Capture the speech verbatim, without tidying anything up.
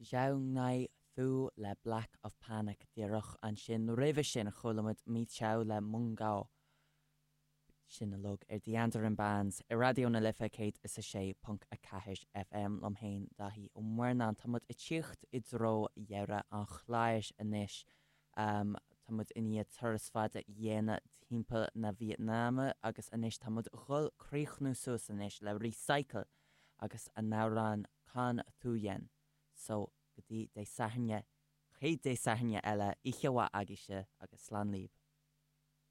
Zhao Thu le Black of Panic díreach ansin roimhe sin chuala muid Mi Chao le Mung Gao. Sin uilig ar The Andaran Bands i Raidió na Life céad is a sé ponc a ceathair FM liom féin Daithí Ó Murnáin Tá muid ag tíocht i dtreo dheireadh an chláir anois. Um, Tá muid i ndiaidh turas fada a dhéanamh timpeall na Vítneáime agus anois tá muid ag dul críochnú suas anois le Recycle agus a n-amhrán Con Thuyen. So go dtí Dé Sathairn chéad Dé Sathairn eile oíche mhaith agaibhse agus slán libh.